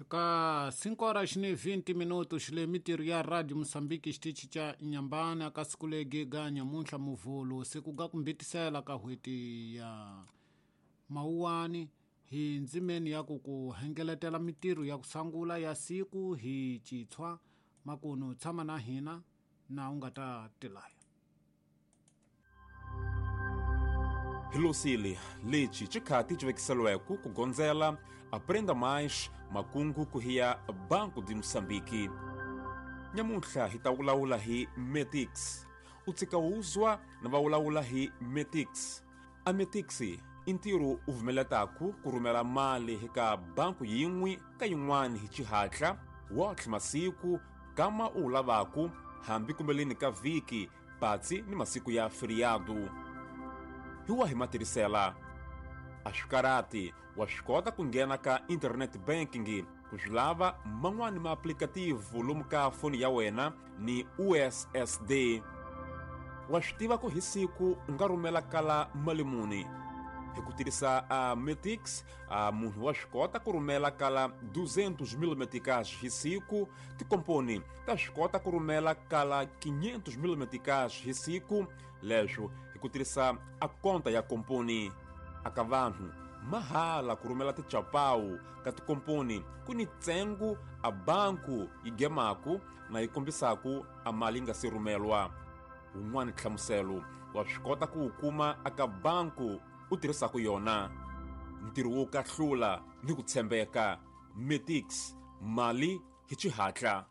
Ka 5 horas ni 20 minutos le mitirho ya Radio Mosambiki xitichi xa Nyambana ka siku legi ga nyamuntlha Muvhulu siku ga ku mbitisela ka n'hweti ya Mawuwani hi ndzimeni ya ku ku hengeletela mitirho ya ku sangula ya siku hi Chitshwa makunu tshama na hina na u nga ta tilaya. Hilosile lexi xikhati xi vekiselweke ku gondzela Aprenda Mais makungu ku hiya Banco de Moçambique. Nyamuntlha hi ta vulavula hi Metix. U tshika wuzwa na va vulavula hi Metix. A Metix i ntirho u vumeletaku ku rhumela mali eka banku yin'we ka yin'wana hi xihatla wotlhe masiku kama u wu lavaku hambi kumbeleni ka vhiki patsi ni masiku ya feriado. Hi wahi matirhisela? A swi karhati, wa swi kota ku nghena ka internet banking ku swi lava man'wani maaplikativu lomu ka foni ya wena ni USSD. Wa swi tiva ku hi siku u nga rhumela kala mali muni? Hi ku tirhisa a Metix, a munhu wa swi kota ku rhumela kala 200 mil meticais hi siku. Tikomponi ta swi kota ku rhumela kala 500 mil meticais hi siku, leswo hi ku tirhisa a konta ya komponi. Aka vanhu mahala ku rhumela tichapawu ka tikomponi ku ni ntsengo a banku yi gemaku na yi kombisaku a mali yi nga si rhumelwa. Wun'wana nhlamuselo wa swi kota ku wu kuma aka banku u tirhisaku yona. Ntirho wo kahlula ni ku tshembeka. Metix, mali hi xihatla.